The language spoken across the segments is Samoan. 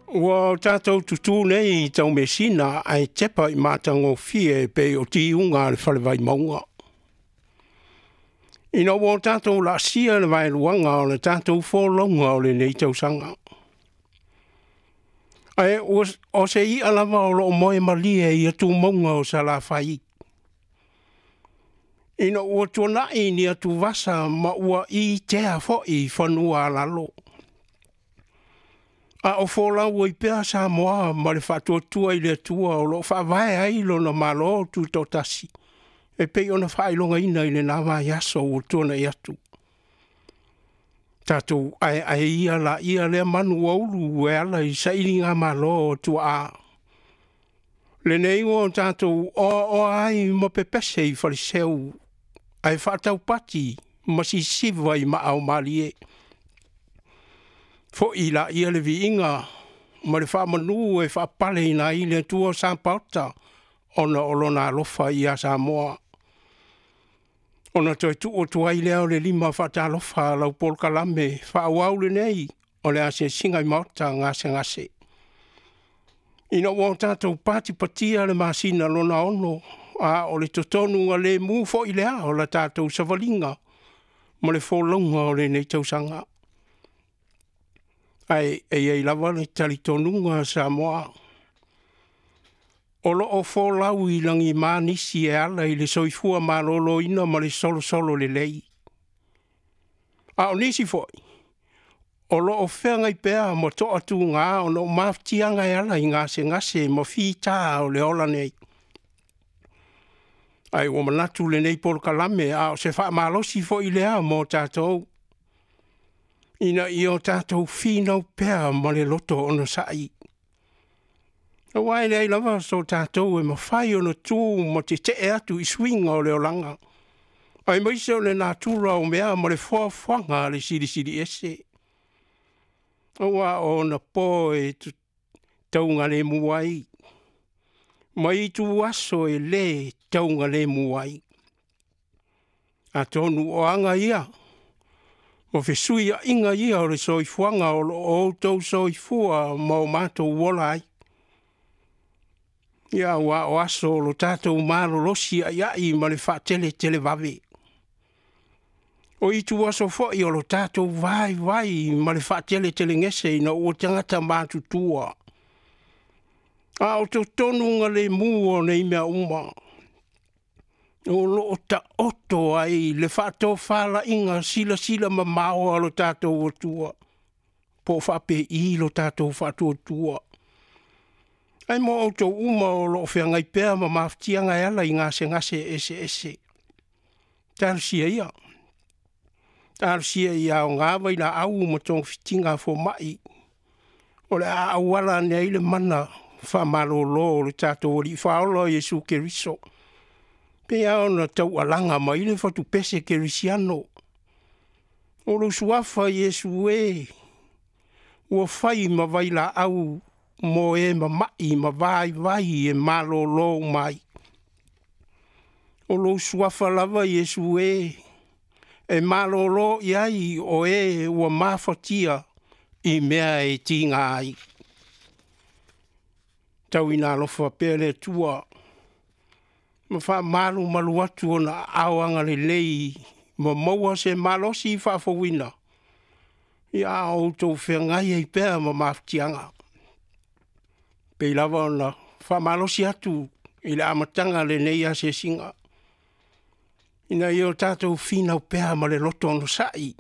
Ua o tatou tutū nei i taumeasina ae tepa i matagofie e pei o tiuga a le fale Vaimauga. Ina ua o tatou laasia le vaeluaga o le tatou folauga o lenei tausaga. Ae o se i'a lava o lo o moe malie i atumauga o Salafai, ina ua tuanai ni atuvasa ma ua itea foi fanua alalo, a o folau ai pea Samoa ma le faatuatua i le Atua o lo o faavae ai lona Malo Tutoatasi, e pei ona faailogaina i lena vaiaso ua tuanai atu. Tatou aeae ia laia lea manu ua ulu e ala i sailigamalo a tuaa, lenei ua tatou oaoa ai ma pepese i faleseu, ae faataupati ma sisiva i maaomalie. Foi laia le viiga ma le faamanu e faapaleina ai le Atua Sapaota, ona o Lona alofa ia Samoa. Ona toe tuu atu ai lea o le lima faatalofa a lau polokalame faaauau lenei o le asiasiga i maota gasegase. Ina ua o tatou patipatia le masina lona 6, a o le totonugalemu foi lea o la tatou savaliga ma le folauga o lenei tausaga. Ae e i ai lava le talitonuga Samoa, o lo o folau i lagima nisi e ala i le soifua maloloina ma le solosolo lelei. A o nisi foi, o lo o feagai pea ma toatuga ona o mafatiaga e ala i gasegase ma fita o le ola nei. Ae ua manatu lenei polokalame, a o se faamalosi foi lea mo tatou, ina ia o tatou finau pea ma le loto onosai. Aua e leai lava so tatou e mafai ona tu ma tetee atu i suiga o le olaga, aemaise o le natura o mea ma le foafoaga a le Silisili Ese. Aua o ona po e taugalemu ai, ma itu aso e lē taugalemu ai. Atonu o aga ia, o fesuiaiga ia o le soifuaga o lo o outou soifua ma o matou ola ai. Ia, aua o aso o lo tatou malolosi aiai ma le faateletelevave. O itu aso foi o lo tatou vaivai ma le faateletelegese ina ua tagata matutua. A o totonugalemu o nei mea uma, o lo o taoto ai le faatofalaiga silasila mamao a lo tatou Atua, po o faapei lo tatou faatuatua. Ae mo outou uma o lo o feagai pea ma mafatiaga e ala i gasegase eseese, talosia ia. Talosia ia aoga vailaau ma togafitiga a fomai, o le a auala ane ai le mana faamalolo o le tatou Alii Faaola Iesu Keriso. Pei lava ona taualaga mai le fatupese kerisiano. O lou suafa Iesu e, ua fai ma vailaau mo e mama'i ma vaivai e malolo uma ai. O lou suafa lava Iesu e, e malolo i ai o e ua mafatia i mea e tiga ai. Tau ina alofa pea le Atua, ma faamalumalu atu ona aao agalelei ma maua se malosi faafouina, ia a outou feagai ai pea ma mafatiaga. Pei lava ona faamalosi atu i le amataga lenei asiasiga, ina ia o tatou finau pea ma le loto onosai,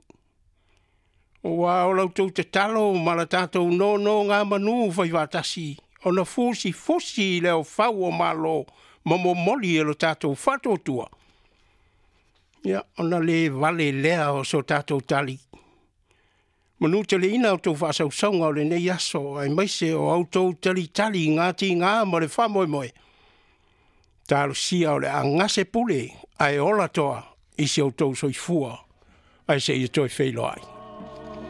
aua o la outou tatalo ma la tatou nonogamanu faifaatasi, ona fusifusi le aofau o Malo ma momoli e lo tatou faatuatua, ia ona le vale lea o so tatou tali. Manuteleina outou faasausauga o lenei aso, aemaise o outou talitali i gatiga ma le faamoemoe, talosia o le a gase pule ae ola toa i si outou soifua, ae seia toe feiloai.